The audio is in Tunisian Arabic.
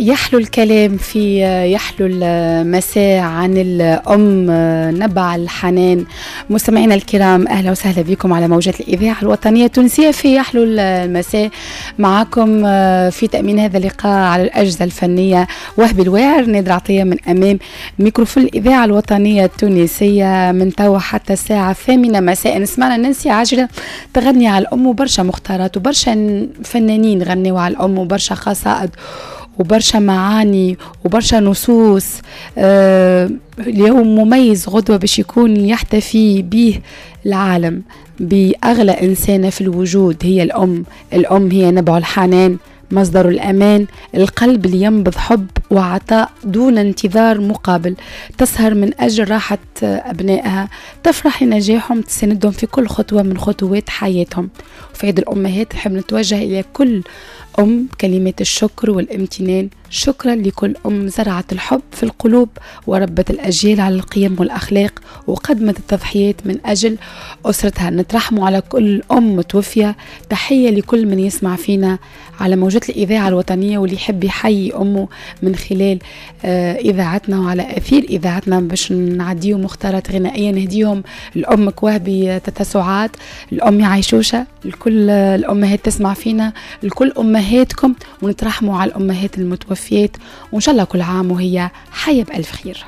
يحلو الكلام في يحلو المساء عن الأم نبع الحنان. مستمعينا الكرام، أهلا وسهلا بكم على موجات الإذاعة الوطنية التونسية في يحلو المساء. معكم في تأمين هذا اللقاء على الأجهزة الفنية وهبي الواعر، نادر عطية من أمام ميكروفون الإذاعة الوطنية التونسية من توا حتى الساعة 8 مساء. نسمعنا نانسي عجرم تغني على الأم، وبرشا مختارات وبرشا فنانين غنوا على الأم، وبرشا قصائد وبرشا معاني وبرشا نصوص. اليوم مميز، غدوة باش يكون يحتفي به العالم بأغلى إنسانة في الوجود، هي الأم. الأم هي نبع الحنان، مصدر الأمان، القلب اللي ينبض حب وعطاء دون انتظار مقابل، تسهر من أجل راحة أبنائها، تفرح لنجاحهم، تساندهم في كل خطوة من خطوات حياتهم. وفي عيد الأمهات نحب نتوجه إلى كل أم كلمات الشكر والامتنان. شكرا لكل أم زرعت الحب في القلوب وربت الأجيال على القيم والأخلاق وقدمت التضحيات من أجل أسرتها. نترحموا على كل أم متوفية. تحية لكل من يسمع فينا على موجات الإذاعة الوطنية واللي يحب يحيي أمه من خلال إذاعتنا وعلى أثير إذاعتنا، باش نعديهم مختارات غنائية نهديهم لأمك وهبي تتسعات، الأم عيشوشة، لكل الأمهات تسمع فينا، لكل أمهاتكم، ونترحموا على الأمهات المتوفيات، وإن شاء الله كل عام وهي حية بألف خير.